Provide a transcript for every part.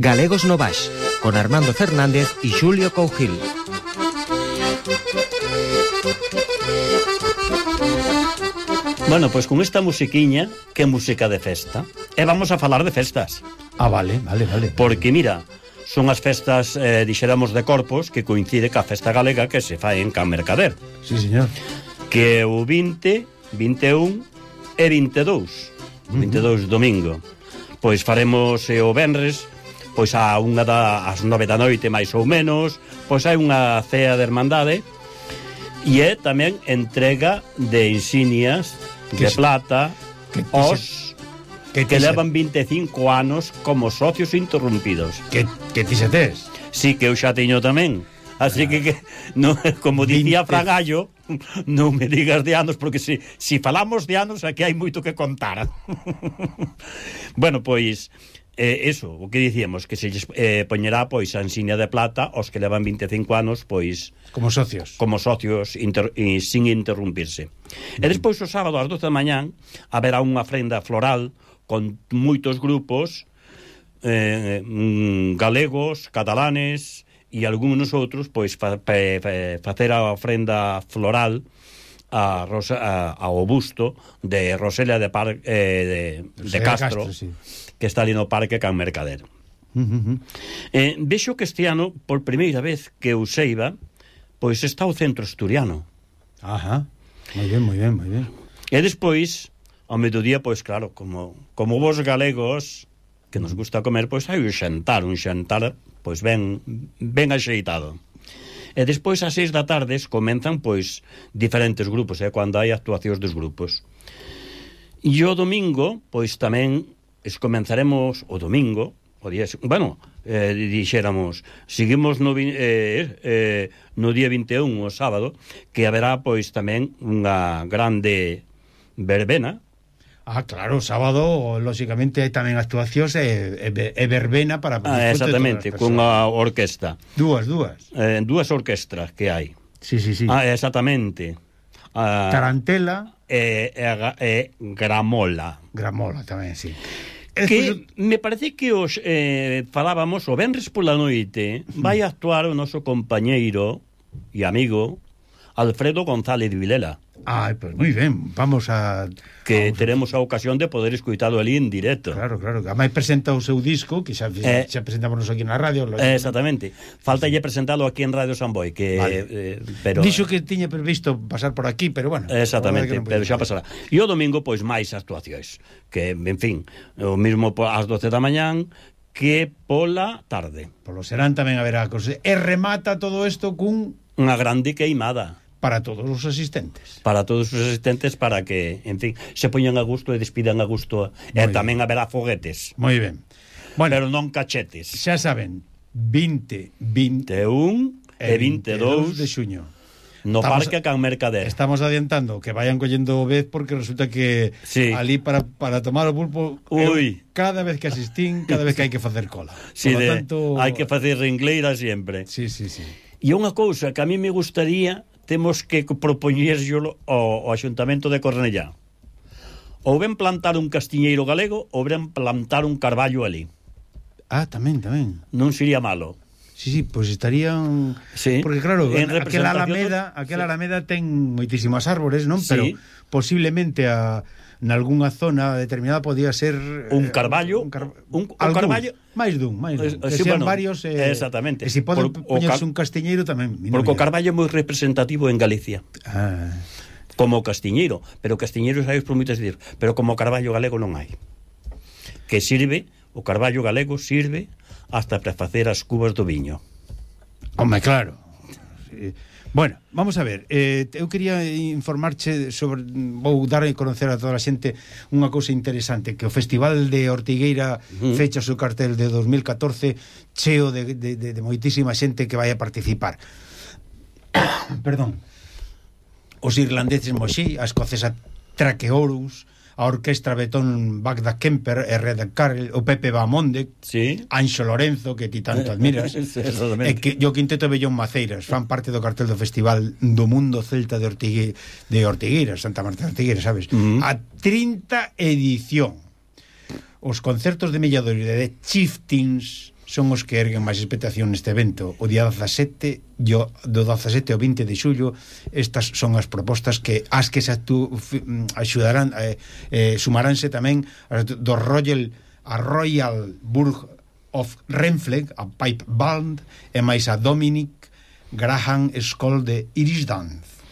Galegos no Baix, con Armando Fernández y Xulio Cougil. Bueno, pois con esta musiquiña, que é música de festa, e vamos a falar de festas. Vale. Porque, mira, son as festas, dixéramos, de Corpos, que coincide ca festa galega que se fai en Can Mercader. Sí, señor. Que é o 20, 21 e 22. 22 domingo. Pois faremos o venres, pois ás 9 da noite, máis ou menos, pois hai unha cea de hermandade, e é tamén entrega de insignias de plata aos que levan 25 anos como socios interrumpidos. Que ti se tes? Sí, que eu xa teño tamén. Así que no, como dicía Fragallo, non me digas de anos, porque si falamos de anos, aquí hai moito que contar. Bueno, pois, eso, o que dicíamos, que se poñerá, pois, a insignia de plata aos que levan 25 anos, pois... Como socios. Sin interrumpirse. E despois, o sábado, ás 12 da mañán, haberá unha ofrenda floral con moitos grupos galegos, catalanes e algúns outros, pois, facer a ofrenda floral ao busto de Roselia de Castro, sí, que está ali no Parque Can Mercader. Vexo que este ano, por primeira vez que eu seiba, pois está o centro asturiano. Ajá, moi ben. E despois, ao mediodía, pois claro, como vos galegos que nos gusta comer, pois hai un xantar, pois ben axeitado. E despois ás 6 da tarde comenzan, pois, diferentes grupos, cando hai actuacións dos grupos. E o domingo, pois tamén comenzaremos o domingo, o día, bueno, dixéramos, seguimos no día 21, o sábado, que haberá, pois, tamén unha grande verbena. Claro, o sábado, lóxicamente, hai tamén actuacións e verbena para... exactamente, cunha orquesta. Dúas orquestras que hai. Sí. Exactamente. Tarantela e Gramola. Gramola tamén, sí. Que me parece que os falábamos o venres pola noite vai actuar o noso compañeiro e amigo Alfredo González de Vilela. Pois moi ben, vamos a... Que teremos a ocasión de poder escuitalo ali en directo. Claro, ademais presenta o seu disco, que xa presentamos aquí na radio. Exactamente, faltalle presentalo aquí en Radio San Boi, que... Vale. Pero dixo que tiña previsto pasar por aquí, pero bueno. Exactamente, pero xa pasará. E o domingo, pois, máis actuacións, que, en fin, o mismo ás 12 da mañán que pola tarde. Polo serán tamén haberá cosas. E remata todo isto cun... Unha grande queimada. Para todos os asistentes. Para todos os asistentes, para que, en fin, se poñan a gusto e despidan a gusto. E tamén haberá foguetes. Moi ben. Bueno, pero non cachetes. Xa saben, 20, 21 e 22 de xuño. No Parque Can Mercader. Estamos adiantando que vayan collendo vez, porque resulta que ali para tomar o pulpo, cada vez que asistín, cada vez que hai que facer cola. Sí, tanto... hai que facer ringleira sempre. Sí. E unha cousa que a mí me gustaría, temos que propoñérselo ao Axuntamento de Cornellá. Ou ben plantar un castiñeiro galego, ou ben plantar un carballo ali. Tamén. Non sería malo. Sí, pois estarían... Sí. Porque claro, aquela Alameda ten moitísimas árbores, non? Sí. Pero posiblemente nalgúnha zona determinada podía ser un carballo, un carballo máis dun, que sean varios, exactamente. E se pode poñerse un castiñeiro tamén. Porque o carballo é moi representativo en Galicia. Como castiñeiro, pero castiñeiros hai por moitas decir, pero como carballo galego non hai. Que sirve, o carballo galego sirve hasta para facer as cubas do viño. Home, claro. Bueno, vamos a ver, eu quería informarche sobre, vou dar a conocer a toda a xente unha cousa interesante, que o Festival de Ortigueira fecha o seu cartel de 2014 cheo de moitísima xente que vai a participar. Perdón. Os irlandeses Moxí, a escocesa Traqueorus, a orquestra Betón Bagda Kemper, Reda Carrel, o Pepe Bamonde, Anxo Lorenzo, que ti tanto admiras, e que o quinteto Bellón Maceiras fan parte do cartel do Festival do Mundo Celta de Ortigueiras, Santa Marta de Ortigueiras, sabes? A 30 edición. Os concertos de Milladoiro de Chieftains son os que erguen máis expectación neste evento. O día 17 do 17 ao 20 de xullo, estas son as propostas que se axudarán, sumaránse tamén do Royal Burg of Renfrew, a Pipe Band, e máis a Dominic Graham School de Irish Dance.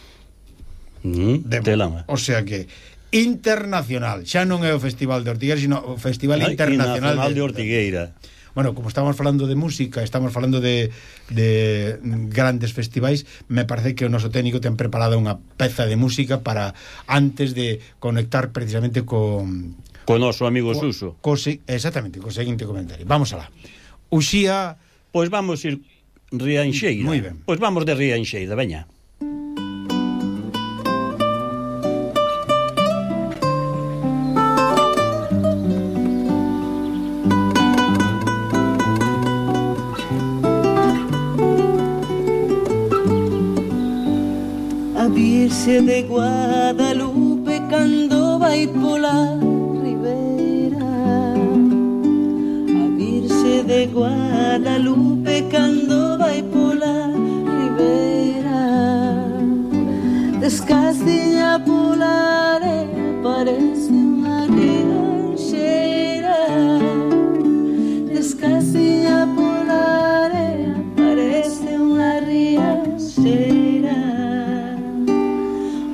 O sea que internacional, xa non é o Festival de Ortigueira, sino o Festival Internacional de Ortigueira. Bueno, como estamos falando de música, estamos falando de grandes festivais, me parece que o noso técnico ten preparada unha peza de música para antes de conectar precisamente con noso amigo Suso. Exactamente, co seguinte comentario. Vamos alá. Uxía... Pois vamos ir Rianxeira. Moi ben. Pois vamos de Rianxeira, veña. Virxe de Guadalupe cando vai pola ribera, a Virxe de Guadalupe cando vai pola ribera, descalciña pola area parece unha rianxeira, descalciña pola area parece unha rianxeira.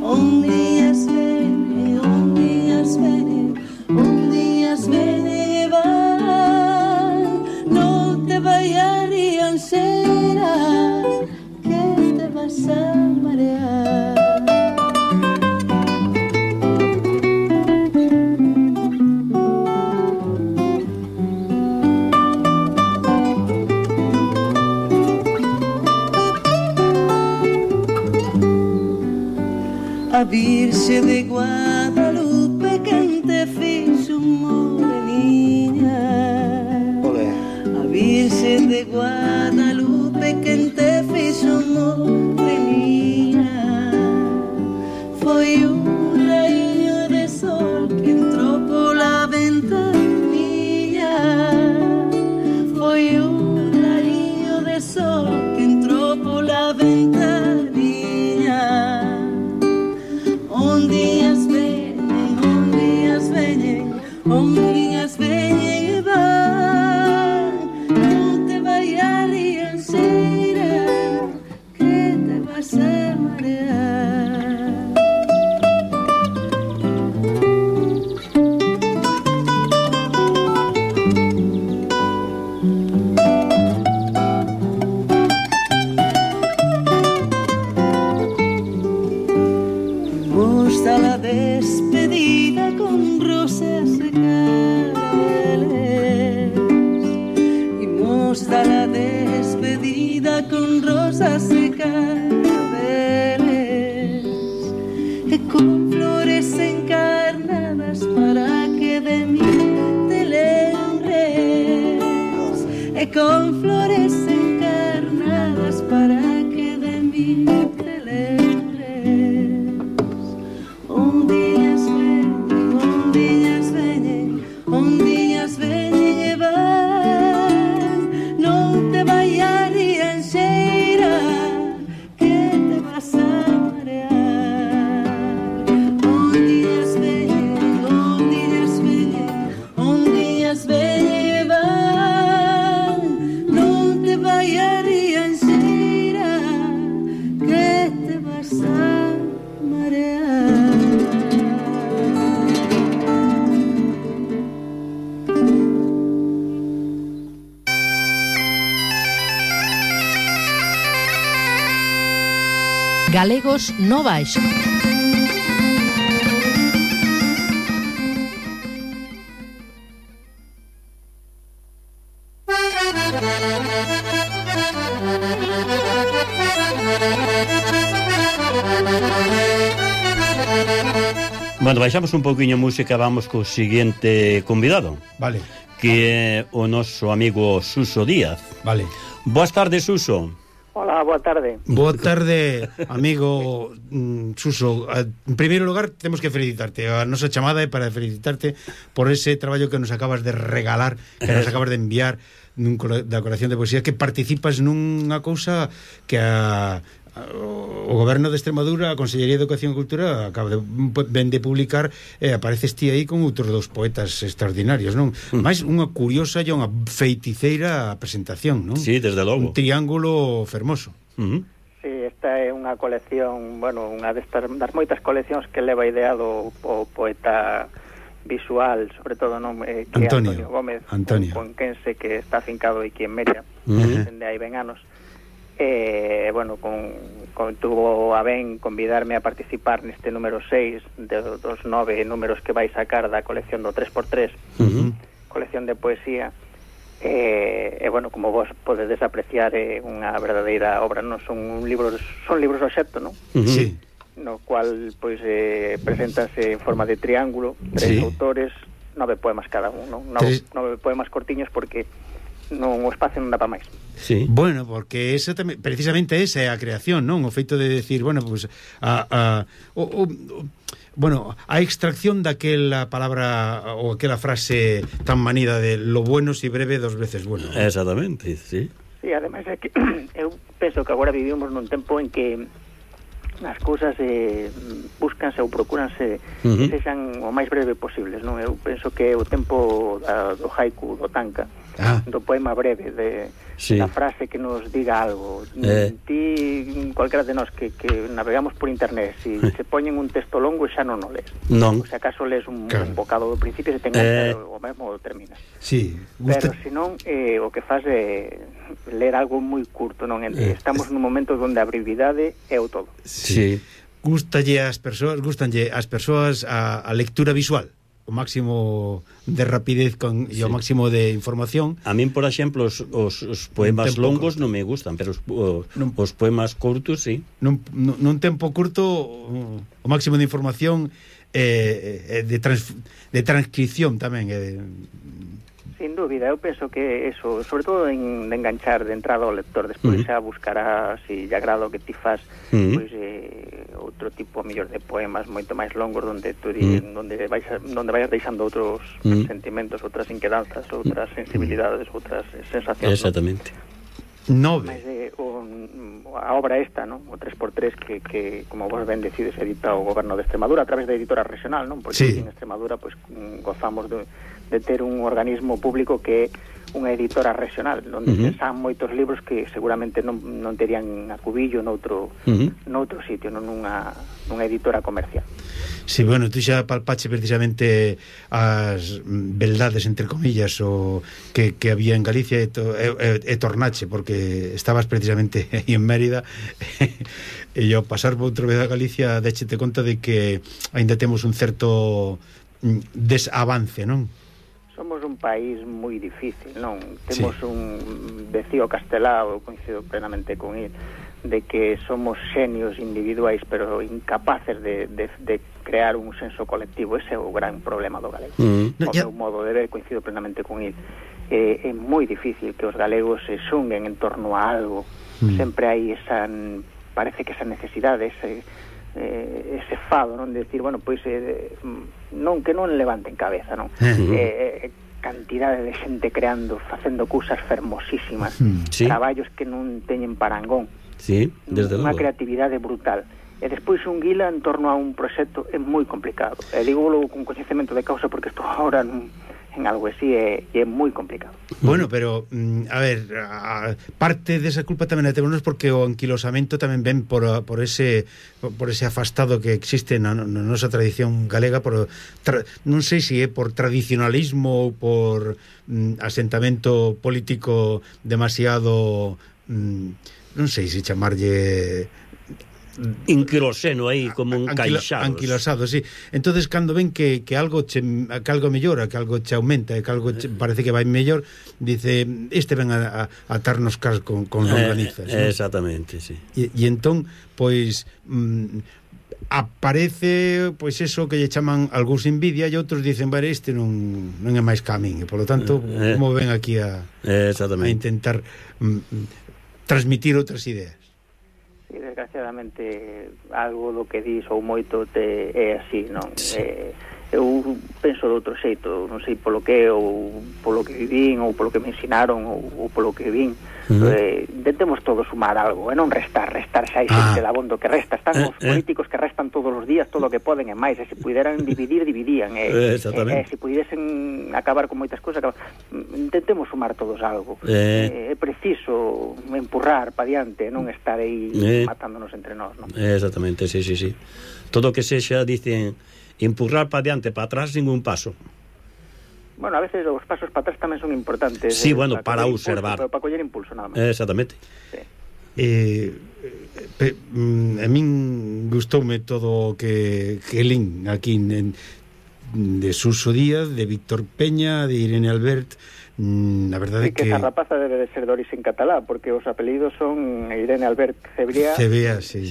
Ondiñas venen e van, non te vai a rianxeira, que te vas a marear. A Virxe de Guadalupe quen te fixo moreniña, a Virxe de Guadalupe quen te fixo moreniña, foi un raíño de sol que entrou pola ventanilla, foi un raíño de sol que entrou pola ventanilla. Ondiñas veñen e van, non te vai a rianxeira, que te vas a marear. Gusta la despedida con rosas y claveles, y gusta la despedida con rosas y claveles, y con flores encarnadas para que de mí te lembres, y con flores encarnadas para que de mí te lembres. Ondiñas veñen e van, non te vai a rianxeira, que te vas a marear. Ondiñas veñen e van, non te vai a rianxeira, que te vas a marear. Galegos no Baixo. Bueno, baixamos un pouquiño música, vamos co seguinte convidado. Vale. Que é o noso amigo Suso Díaz. Vale. Boas tardes, Suso. Hola, boa tarde. Boa tarde, amigo Suso. En primeiro lugar, temos que felicitarte. A nosa chamada é para felicitarte por ese traballo que nos acabas de regalar, que nos acabas de enviar da colección de poesía, que participas nunha cousa que o Goberno de Extremadura, a Consellería de Educación e Cultura ven de publicar, apareces ti aí con outros dos poetas extraordinarios, non? Mais unha curiosa e unha feiticeira presentación, non? Sí, desde logo. Un triángulo fermoso. Sí, esta é unha colección, bueno, unha das moitas coleccións que leva ideado o poeta visual, sobre todo, non, que Antonio Gómez, un conquense que está afincado aquí en Meria, dende hai ben anos. Bueno, tuvo a ben convidarme a participar neste número 6 dos 9 números que vai sacar da colección do 3x3, colección de poesía. Bueno, como vos podedes apreciar, é unha verdadeira obra, non son libros obxecto, non? Sí. No cual pois preséntase en forma de triángulo, 3 autores, 9 poemas cada un, non? 9 poemas cortiños, porque non o espacio non dá para máis. Sí. Bueno, porque esa tamén, precisamente esa é a creación, non? O feito de decir, bueno, pues bueno, a extracción daquela palabra ou aquela frase tan manida de lo bueno si breve dos veces bueno. Exactamente, sí. Sí, ademais é que eu penso que agora vivimos nun tempo en que as cousas búscanse ou procúranse que sexan o máis breve posibles, non? Eu penso que o tempo do haiku, do tanka, do poema breve, da frase que nos diga algo. Ti, cualquera de nós que navegamos por internet, se poñen un texto longo xa non o lees. Non. O se acaso lees un bocado do principio, se ten o mesmo terminas. Sí. Pero senón o que faz é ler algo moi curto, non? Estamos nun momento onde a brevidade é o todo. Sí. Gustanlle ás persoas a lectura visual, o máximo de rapidez e o máximo de información. A min, por exemplo, os poemas longos non me gustan, pero os poemas curtos, sí. Nun tempo curto, o máximo de información de transcripción tamén. Sin dúbida, eu penso que eso, sobre todo de enganchar de entrada ao lector, despois xa buscará, se lle agrada o que ti fas, pois outro tipo mellor de poemas moito máis longos donde vais deixando outros sentimentos, outras inquedanzas, outras sensibilidades, outras sensacións. Exactamente. Mas a obra esta, non? O 3x3 que como vos ben decides, edita o Goberno de Extremadura a través da editora regional, non? Porque en Extremadura pois gozamos de ter un organismo público que é unha editora regional, onde se san moitos libros que seguramente non terían acubillo noutro sitio, non nunha editora comercial. Sí, bueno, tú xa palpache precisamente as beldades, entre comillas, o que había en Galicia e tornache, porque estabas precisamente aí en Mérida e ao pasar por outra vez a Galicia déchete conta de que aínda temos un certo desavance, non? Somos un país moi difícil, non? Temos un vecío Castelao, coincido plenamente con ele, de que somos xenios individuais pero incapaces de crear un senso colectivo. Ese é o gran problema do galego. O meu modo de ver, coincido plenamente con ele. É moi difícil que os galegos se xunguen en torno a algo. Sempre hai parece que esa necesidade, ese fado, non? De decir, bueno, pois non que non levanten cabeza, non? Cantidade de xente creando, facendo cousas fermosísimas, traballos que non teñen parangón. Sí, desde unha logo. Creatividade brutal. E despois un guila en torno a un proxecto é moi complicado. E digo con coñecemento de causa porque estou agora en algo así e é moi complicado. Bueno, pero a ver, parte desa culpa tamén a temos porque o anquilosamento tamén ven por ese afastado que existe na nosa tradición galega, non sei se é por tradicionalismo ou por asentamento político demasiado non sei se chamarlle inquiloseno aí como un caixado. Anquilosado, sí. Entonces cando ven que algo mellora, que algo che aumenta, que algo parece que vai mellor, dice, ven a atarnos cas con longanizas. Exactamente, sí. E entón, pois aparece pois eso que lle chaman algúns envidia e outros dicen, vale, este non é máis camín, e polo tanto, como ven aquí a intentar transmitir outras ideas. Sí, desgraciadamente algo do que dis ou moito é así, non? eu penso de outro xeito, non sei polo que, ou polo que vivín, ou polo que me ensinaron, ou polo que vin. Intentemos todos sumar algo, e non restar xa hai xente de abondo que resta. Están os políticos que restan todos os días todo o que poden e máis, e se puderan dividir, dividían, e se pudiesen acabar con moitas cousas, intentemos sumar todos algo. É preciso empurrar pa diante, non estar aí matándonos entre nós, non? Exactamente, sí. Todo o que sexa, dicen, empurrar pa diante, pa atrás, ningún paso. Bueno, a veces os pasos para atrás tamén son importantes. Sí, bueno, para observar. Para coller impulso, nada máis. Exactamente. Sí. A min gustoume todo o que lin aquí de Suso Díaz, de Víctor Peña, de Irene Albert. A verdade é que esa rapaza debe de ser de origen catalá, porque os apelidos son Irene Albert Cebrea, sí.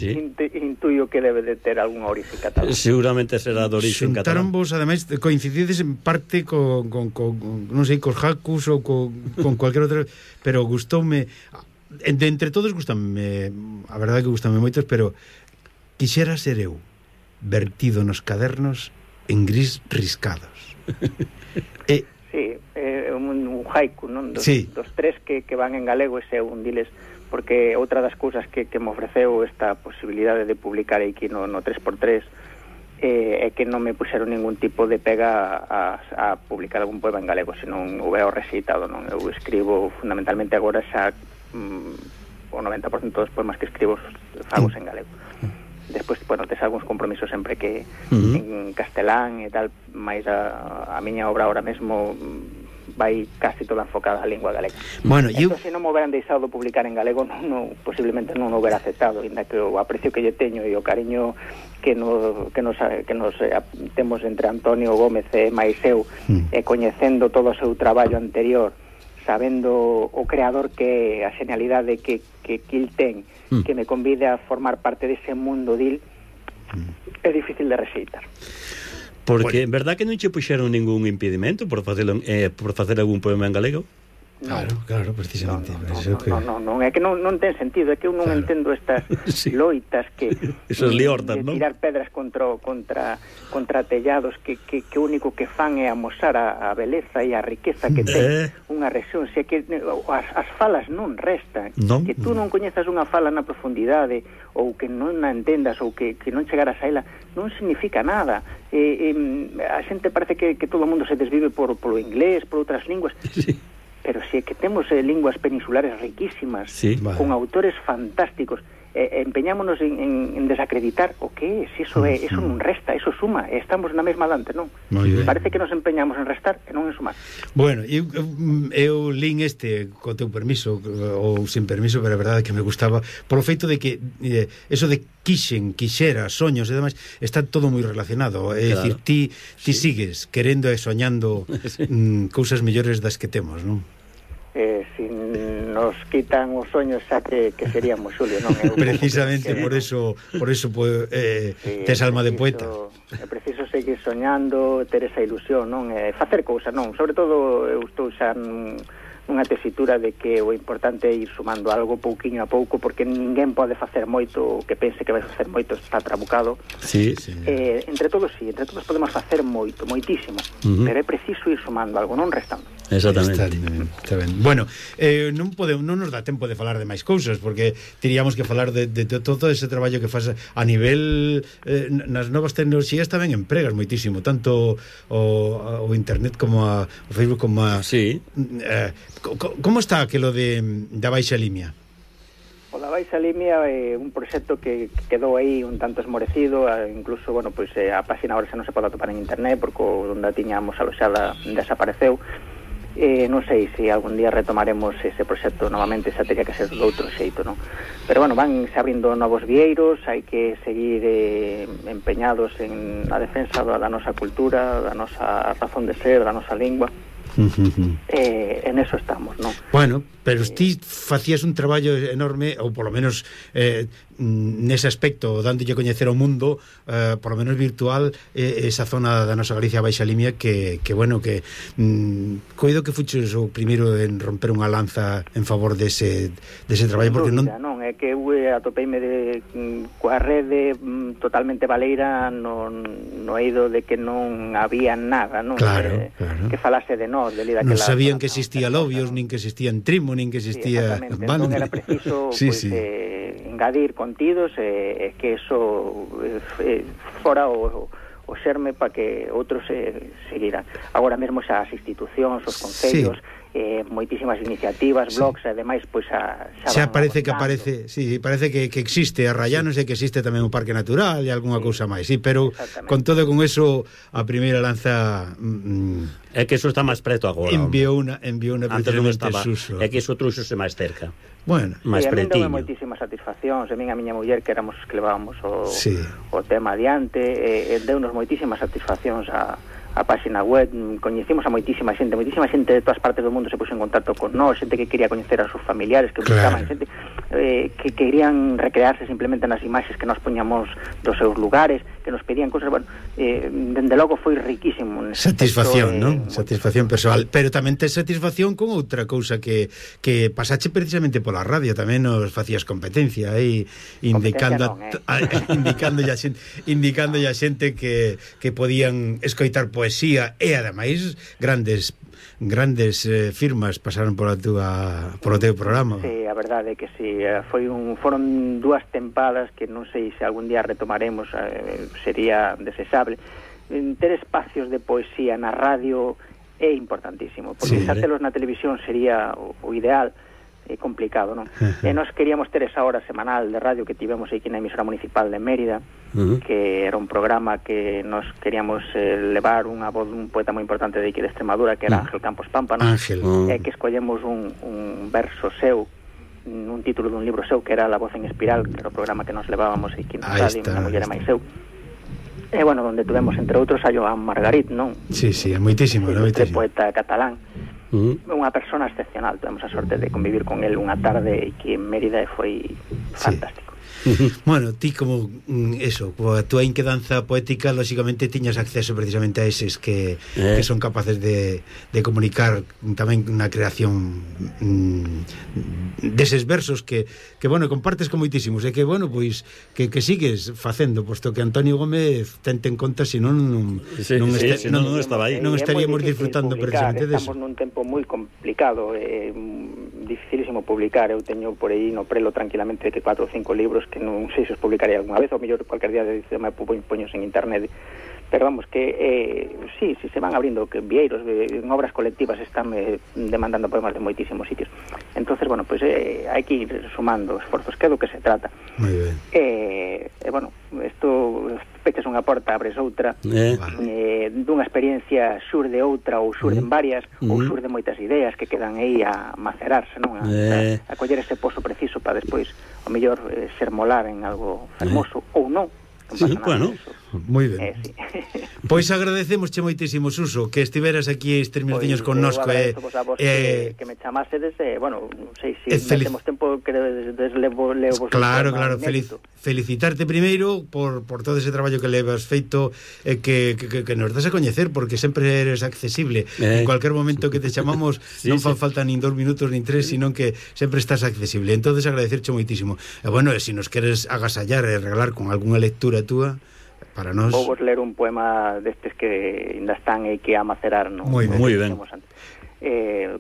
Intuyo que debe de ter algún origen catalá. Seguramente será de origen catalá. Xuntaron vos, ademais, coincidides en parte con non sei, cos Jacus ou con cualquier outro, pero gustoume, de entre todos gustame, a verdade que gustame moitos, pero quixera ser eu vertido nos cadernos en gris riscados. Sí, un haiku, non? Dos tres que van en galego, ese é un diles, porque outra das cousas que me ofreceu esta posibilidade de publicar aquí no 3x3 é que non me puxeron ningún tipo de pega a publicar algún poema en galego, senón o veo rexeitado, non? Eu escribo fundamentalmente agora xa o 90% dos poemas que escribo fagos en galego. Despois, bueno, tes algúns compromisos sempre que en castelán e tal, máis a miña obra ahora mesmo vai casi toda enfocada á lingua galega. Bueno, entón, se non me hubieran deixado publicar en galego, posiblemente non o hubiera aceptado, ainda que o aprecio que lle teño e o cariño que nos temos entre Antonio Gómez e máis eu, e coñecendo todo o seu traballo anterior, sabendo o creador que a genialidade que il ten, que me convide a formar parte dese mundo dil, é difícil de rexeitar. Porque, en verdad que non che puxeron ningún impedimento por facer algún poema en galego? Claro, precisamente. Non, é que non ten sentido, é que eu non entendo estas loitas que esos liortas, de tirar pedras contra tellados que o único que fan é amosar a beleza e a riqueza que ten unha rexión. Se que as falas non restan, que tú non coñezas unha fala na profundidade, ou que non a entendas, ou que non chegaras a ela, non significa nada. A xente parece que todo o mundo se desvive polo inglés, por outras linguas. Pero si é que temos linguas peninsulares riquísimas, con autores fantásticos, empeñámonos en desacreditar o que é, se iso é, eso non resta, eso suma, estamos na mesma dante, non? Parece que nos empeñamos en restar e non en sumar. Bueno, eu lin co teu permiso, ou sin permiso, pero a verdade é que me gustaba, por o feito de que eso de quixera, soños e demais, está todo moi relacionado. É dicir, ti sigues querendo e soñando cousas mellores das que temos, non? Si nos quitan os soños xa que seríamos, Xulio, non? Precisamente por eso tes alma de poeta. É preciso seguir soñando, ter esa ilusión, non? Facer cousas, non? Sobre todo eu estou xa nunha tesitura de que o importante é ir sumando algo pouquiño a pouco, porque ninguén pode facer moito, o que pense que vai facer moito está trabucado. Entre todos podemos facer moito, moitísimo, pero é preciso ir sumando algo, non restando. Exactamente. Está ben. Bueno, non nos dá tempo de falar de máis cousas, porque teríamos que falar de todo ese traballo que faz a nivel nas novas tecnoloxías tamén empregas moitísimo, tanto o internet como o Facebook como a... Como está aquilo da Baixa Limia? O da Baixa Limia é un proxecto que quedou aí un tanto esmorecido, incluso, bueno, pois a página ahora xa non se pode atopar en internet porque onde a tiñamos aloxada desapareceu. Non sei se algún día retomaremos ese proxecto novamente, xa teria que ser de outro xeito, non? Pero bueno, van se abrindo novos vieiros, hai que seguir empeñados en a defensa da nosa cultura, da nosa razón de ser, da nosa lingua. En eso estamos, non? Bueno, Pero ti facías un traballo enorme, ou polo menos nese aspecto, dándolle a coñecer ao mundo, polo menos virtual, esa zona da nosa Galicia Baixa Limia que bueno, que coido que fuches o primeiro en romper unha lanza en favor dese traballo, porque non... Non, é que eu atopeime coa rede totalmente baleira no eido de que non había nada, non? Claro. Que falase de nós, de non sabían que existía Lobios, nin que existía Trimo, nin que existía... Sí, entón era preciso engadir contidos e que eso fora o xerme para que outros seguiran. Agora mesmo xa as institucións, os concellos, moitísimas iniciativas, blogs, e demais, pois xa parece que aparece, parece que existe a Rayanos e que existe tamén un parque natural e algunha cousa máis, pero con todo con eso a primeira lanza é que eso está máis preto agora. Enviou unha antes non estaba, Suso. É que iso trouxose máis cerca. Bueno, máis pretiño. A mí moitísimas satisfaccións, a miña muller que éramos que levábamos o tema adiante, deunos moitísimas satisfaccións a página web, coñecimos a moitísima xente de todas partes do mundo se puxo en contacto con nós, xente que quería coñecer a seus familiares, que buscaban xente que querían recrearse simplemente nas imaxes que nos poñamos dos seus lugares, que nos pedían cosas, bueno, dende logo foi riquísimo. Satisfacción, non? Satisfacción persoal, pero tamén tes satisfacción con outra cousa que pasache precisamente pola radio, tamén nos facías competencia aí, indicando a xente que podían escoitar poesía e ademais grandes firmas pasaron polo teu programa. Sí, a verdade é que sí, foron 2 tempadas que non sei se algún día retomaremos, sería desexable. Ter espacios de poesía na radio é importantísimo, porque xa telos na televisión sería o ideal. É complicado, non? E nós queríamos ter esa hora semanal de radio que tivemos aquí na emisora municipal de Mérida, que era un programa que nos queríamos levar unha voz dun poeta moi importante de aquí de Extremadura, que era Ángel Campos Pámpano, e que escollemos un verso seu, un título dun libro seu, que era La voz en espiral, que era o programa que nos levábamos aquí na radio, na muller e máis seu. E, bueno, donde tuvemos, entre outros, a Joan Margarit, non? Sí, é moitísimo, moitísimo. Poeta catalán. Unha persona excepcional, tuvemos a sorte de convivir con el unha tarde aquí en Mérida e foi fantástico. Bueno, ti como eso, coa túa inquedanza poética, lógicamente tiñas acceso precisamente a eses que son capaces de comunicar tamén na creación deses versos que bueno, compartes con moitísimos e que bueno, pois que sigues facendo, posto que Antonio Gómez tente en conta, senón non estaba aí. Non estaríamos disfrutando precisamente deso. Estamos nun tempo moi complicado, dificilísimo publicar. Eu teño por aí no prelo tranquilamente que 4 ou 5 libros que non sei se os publicaré algunha vez, ou mellor cualquier día de me poños en internet, pero vamos, que sí, se van abrindo que vieiros, en obras colectivas están demandando poemas de moitísimos sitios. Entonces, bueno, pues hai que ir sumando esforzos, que é do que se trata. Moi ben. Bueno, isto pechas unha porta, abres outra, dunha experiencia xurde outra, ou xurden varias, ou xurden moitas ideas que quedan aí a macerarse, non? A coller ese pozo preciso para despois, o mellor, ser molar en algo hermoso, ou non. Bueno, moi ben. Pois agradecemosche moitísimo, Suso, que estiveras aquí estes minutinhos connosco. Que me chamasedes, bueno, non sei se temos tempo que deslevo. Claro, felicitarte primeiro por todo ese traballo que levas feito, que nos das a coñecer, porque sempre eres accesible. En cualquier momento que te chamamos non fan falta nin 2 minutos nin 3, sino que sempre estás accesible. Entonces agradecerche moitísimo. E bueno, se nos queres agasallar e regalar con algunha lectura túa para nós. Vou vos ler un poema destes que ainda están e que a macerar, non? Moi ben.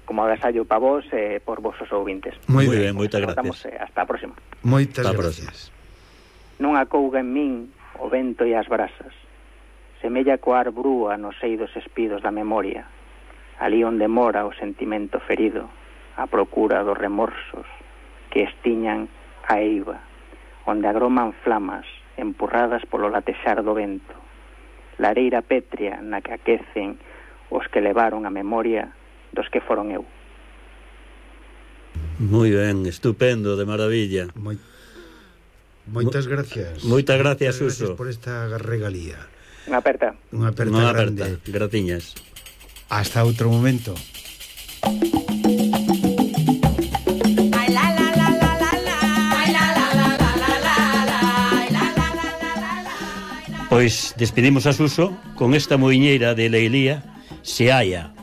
Como agasallo para vos e por vosos ouvintes. Moi ben, moitas gracias. Hasta a próxima. Moitas gracias. Non acouga en min o vento e as brasas, semella coar brúa nos eidos espidos da memoria, ali onde mora o sentimento ferido, a procura dos remorsos que estiñan a eiva, onde agroman flamas empurradas polo latexar do vento, lareira pétrea na que aquecen os que levaron a memoria dos que foron eu. Moi ben, estupendo, de maravilla. Moitas gracias. Moitas gracias, Suso. Gracias por esta regalía. Unha aperta grande. Gratiñas. Hasta outro momento. Pois despedimos a Suso con esta muiñeira de Leilía, Se haya.